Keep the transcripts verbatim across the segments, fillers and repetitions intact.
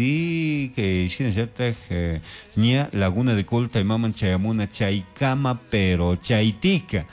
Y que shinallataj eh, ña Laguna de Colta imaman chayamuna chaykama pero chaytika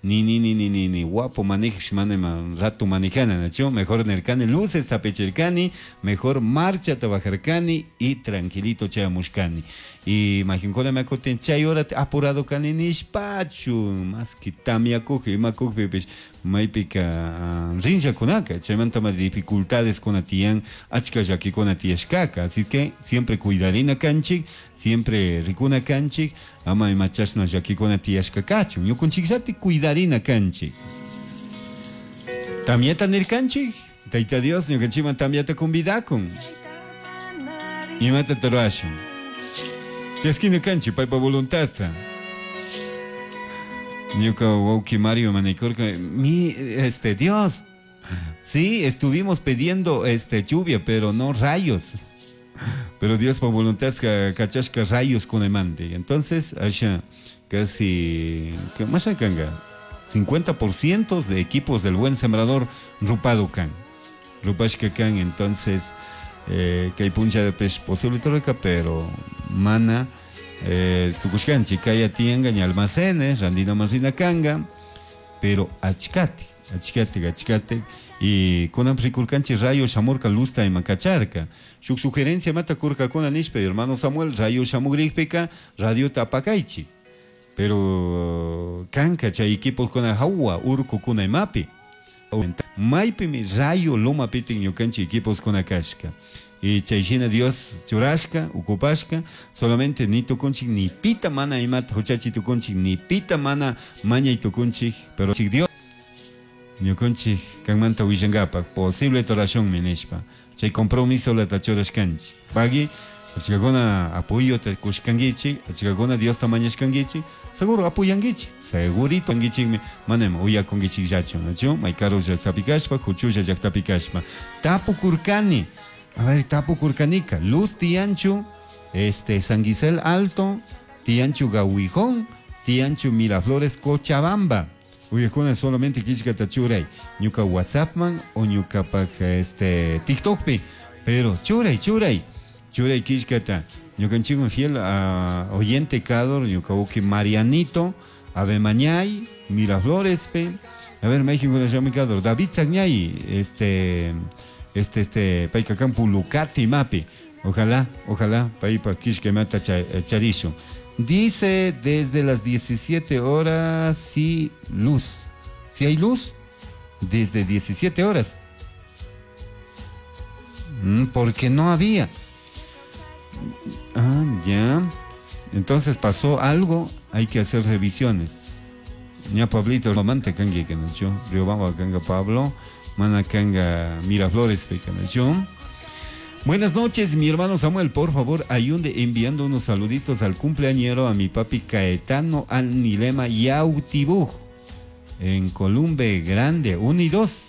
ni ni ni ni ni ni guapo manejash mana ima rato manejana nachu mejor nirkani luces tapichirkani mejor marchata bajarkani y tranquilito chayamushkani y majinkuna me kutin chay hora apurado kani nishpachu más que tamyakuj imakujpipish maypika uh, rinllakunaka chaymanta ma dificultades kuna tiyan achka llakikuna tiyashkaka así que siempre cuidarina kanchik siempre rikuna kanchik ama ima chashna llakikuna tiyashka kachun ñukunchikllati cuidarina kanchik tamyata nirkanchik Tayta Dios ñukanchikman tamyata convidakun imata rurashun chaskina kanchik paypa voluntadta ñuka wawki Mario manikurka mi este Dios sí estuvimos pidiendo este lluvia pero no rayos pero Dios por voluntad kachashka rayos kunaymanta entonces asha casi ¿qué más kanga cincuenta por ciento de equipos del Buen Sembrador rupado kan rupashka kan entonces eh, kay puncha de pez posible torreca pero mana eh, tukushkanchik kaya tiyanka ña almacenes randina marina kanga pero achkati achkati achkati y kunan rikurkanchik rayo shamurka luzta ima kacharka shuk sugerencia mata kurkakuna nishpa hermano Samuel rayo shamugrikpika radiota apakaychik pero kanka chay equipos kuna hawa urkukuna imapi maypimi rayo lomapitin ñukanchik equipos kuna kashka y chay shina Dios churashka ukupashka solamente ni tukunchik ni pita mana imata huchachi tukunchik ni pita mana mañay tukunchik pero Dios ñukanchik kanmanta willankapak posible torashunmi nishpa chay compromiso lata churashkanchik pagui achkakuna apoyota kushkankichik achkakuna Diosta mañashkankichik seguro apoyankichik segurito ankichikmi mana ima uyakunkichikllachu nachu may karu llaktapi kashpa huchulla llaktapi kashpa tapukurkani a ver tapukurkanika luz tiyanchu este San Gisel Alto tiyanchu Gawijón tiyanchu Miraflores Cochabamba uyakuna solamente killkata churay ñuka WhatsAppman o ñukapak este TikTokpi pero churay churay churay killkata ñukanchikman fiel a oyente kador ñuka uki Marianito Abemañay Miraflores pe a ver México de kador David Sagñay este este este payka kan Pulucati mapi ojalá ojalá paypa killka imata charisho dice desde las diecisiete horas sí luz si hay luz desde diecisiete horas mm, porque no había. Ah, ya. Entonces pasó algo, hay que hacer revisiones. Ya Pablito, mamante kangi kanacho, Riobamba kanga Pablo, mana kanga Miraflores kanacho. Buenas noches, mi hermano Samuel, por favor, ayunde enviando unos saluditos al cumpleañero a mi papi Caetano Anilema Yautibuj en Columbe Grande, uno y dos.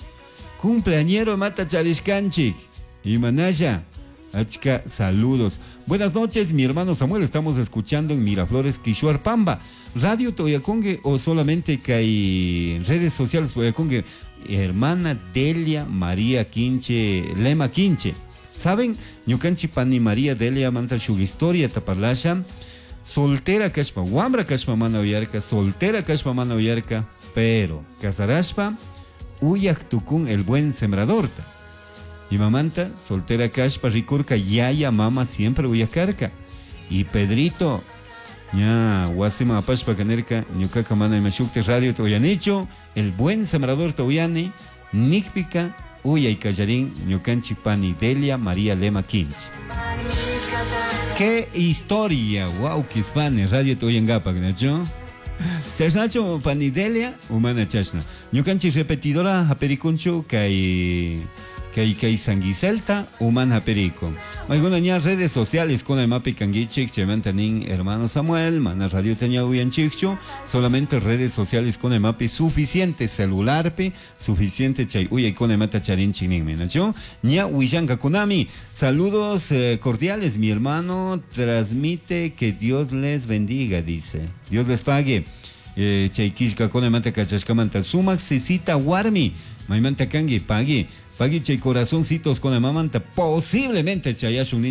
Cumpleañero mata Charishkanchik y Manaya. Achka, saludos. Buenas noches, mi hermano Samuel. Estamos escuchando en Miraflores, Quishuarpamba. Radio Toyacongue o solamente que hay redes sociales Toyacongue. Hermana Delia María Quinche, Lema Quinche. ¿Saben? Ñukanchi pani María Delia manta shuk historia taparlasha. Soltera kashpa, wambra kashpa mana uyarka, soltera kashpa mana uyarka, pero casarashpa, uyak tukun el buen sembradorta. Y mamanta, soltera kashpa, rikurka, yaya, mama, siempre uyakarka. Y Pedrito, ya, wasima apashpa kanerka, ñukaka mana imashukte radio toyanicho, el buen sembrador toyani, nikpika, uyay kallarín, ñukanchi pani Delia María Lema Quinche. ¡Qué historia! ¡Wow! ¡Qué radio toyangapa, ¿no? Chashnacho pani Delia, humana chashna. Ñukanchi repetidora aperikunchu, kay kay kay Sanguicelta, humana perico. Alguna ña redes sociales con el mapi kanguichik, chaymanta nin hermano Samuel, mana radio teña uyanchikchu, solamente redes sociales con el mapi suficiente celular pi, suficiente chay uyay con el mata charinchik ninmi, ¿nachu? Ña huillanka kunami. Saludos eh, cordiales, mi hermano transmite que Dios les bendiga, dice. Dios les pague. Eh, chay kishka con el mata kachashkamanta sumak sisita warmi, maymanta kangi pagui. Pagui chay corazoncitos con la mamanta, posiblemente chayashun.